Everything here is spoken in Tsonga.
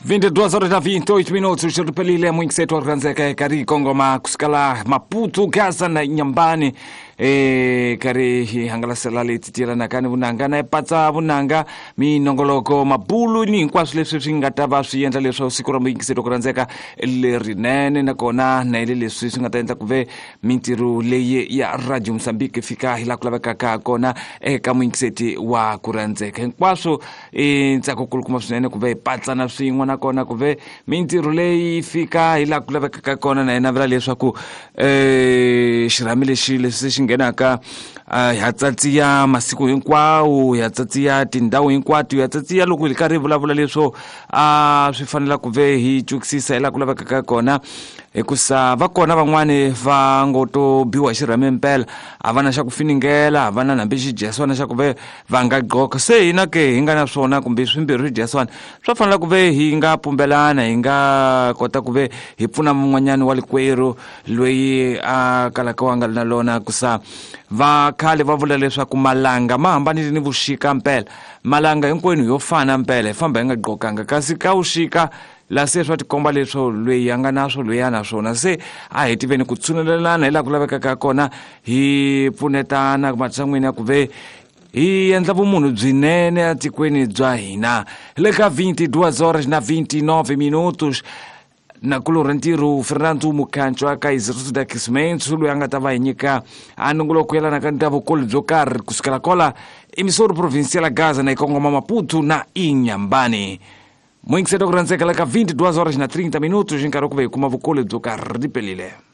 22 horas na 28 minutos xiripelile muyingiseti wa rhandzeka karhi kongoma kusukela Maputo, Gaza na Inhambane karhi hi hangalasela leti tiyelanaka ni vunanga na patsa vunanga minongoloko mabulu ni hinkwaswo leswi swi nga ta va swi endla leswaku siku ra muyingiseti wa ku rhandzeka lerinene, nakona na ile leswi swi nga ta endla ku ve mintirho leyi ya Radio Mozambique fika hi laha ku lavekaka kona eka muyingiseti wa ku rhandzeka. Hinkwaswo i ntsako kulukumba swinene ku ve hi patsana swin'we, nakona ku ve mintirho leyi fika hi laha ku lavekaka kona. Na yena vula leswaku xirhami lexi leswi xi nghenaka ha tsatsiya masiku hinkwawo, ha tsatsiya tindhawu hinkwato, ha tsatsiya loko hi karhi hi vulavula leswo a swi fanela ku ve hi twisisa hi laha ku lavekaka kona, hikusa va kona van'wani va ngo to biwa hi xirhami mpela, a va na xa ku finingela, a va na hambi xidyeswana xa ku ve va nga gqoka. Se hina ke hi nga na swona kumbe swimbirhi swidyeswana swa fanela ku ve hi nga pumbelana, hi nga kota ku ve hi pfuna mun'wanyani wa likwerhu loyi a kalaka wa nga ri na lona. Kusa va khale va vula leswaku malanga ma hambanile ni vuxika mpela, malanga hinkwenu yo fana mpela, hi famba hi nga gqokanga, kasi ka vuxika la se swa tikomba leswo loyi a nga na swo loyi a na swona. Se a hi tiveni ku tshunelelana hi laha ku lavekaka kona, hi pfunetana matshan'wini ya ku ve hi endla vumunhu byinene etikweni bya hina. Le ka 22 horas na 29 minutos na kulorha ntirho Fernando Mukhancho ka Instituto de Aquecimento loyi a nga ta va hi nyika a nongoloko yelanaka ni ta vukulu byo karhi kusukela kola emissora provincial Gaza na ikongoma Maputo na Inhambane. Muyingiseti wa ku rhandzeka le ka 22 horas na 30 minutos nkarhi wa ku ve hi kuma vukulu byo karhi ripelile.